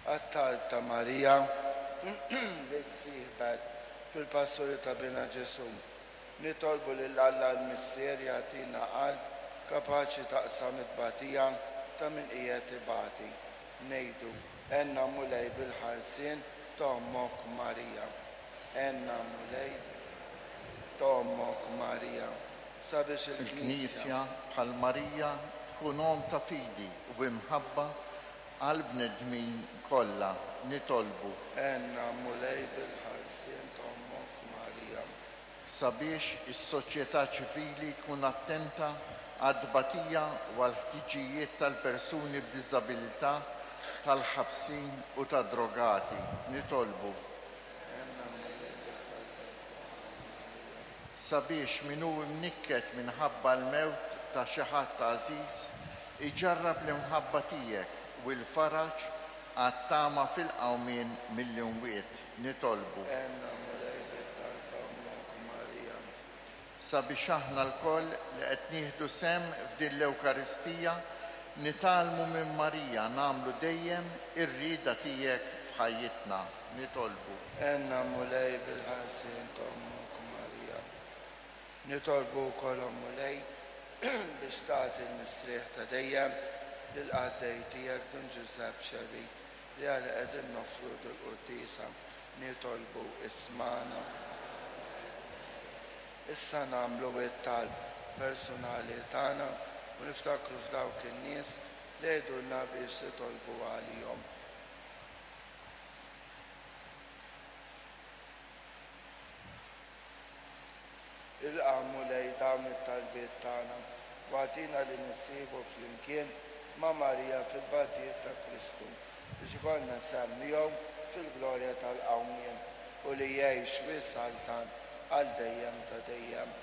Għat-talb ta' Marija li ssieħbet fil-passuri ta' Binha Ġesù, nitolbu lil Alla l-Missier jagħtina qalb kapaċi taqsam it-tbatija ta' min qiegħed ibati. Ngħidu, Għenna Mulej bil-ħarsien ta' Ommok Marija. Għenna Mulej ta' Ommok Marija. Sabiex il-Knisja. Il-Knisja, bħal Marija, tkun omm ta' fidi u imħabba għall-bnedmin kollha. Nitolbu. Għenna Mulej bil-ħarsien ta' Ommok Marija. Sabiex is-soċjetà ċivili tkun attenta għat-tbatija u għall-ħtiġijiet tal-persuni b'diżabilità, tal-ħabsin u tad-drogati. Nitolbu. Għenna Mulej bil-talba ta' Ommok Marija. Sabiex min hu mnikket minħabba l-mewt ta' xi ħadd għażiż iġarrab l-imħabba tiegħek u l-faraġ għat-tama fil-qawmien mill-imwiet. Nitolbu. Għenna Mulej bit-talb ta' Ommok Marija. Sabiex aħna lkoll li qed nieħdu sehem f'din l-Ewkaristija nitgħallmu minn Marija nagħmlu dejjem ir-rieda tiegħek f'ħajjitna. Nitolbu. Għenna Mulej bil-ħarsien ta' Ommok Marija. Nitolbu wkoll O Mulej biex tagħti l-mistrieħ ta' dejjem lill-qaddej tiegħek Dun Ġużepp Xerri li għalih qegħdin noffru dil-quddiesa. Nitolbu ismagħna. Issa nagħmlu t-talb persunali tagħna u niftakru f'dawk in-nies li għidulna biex nitolbu għalihom. Ilqa', Mulej, dawn it-talbiet tagħna u agħtina li nissieħbu flimkien ma' Marija fil-batijiet ta' Kristu, biex ikollna sehem miegħu fil-glorja tal-qawmien, u li jgħix u jsaltan għal dejjem ta' dejjem.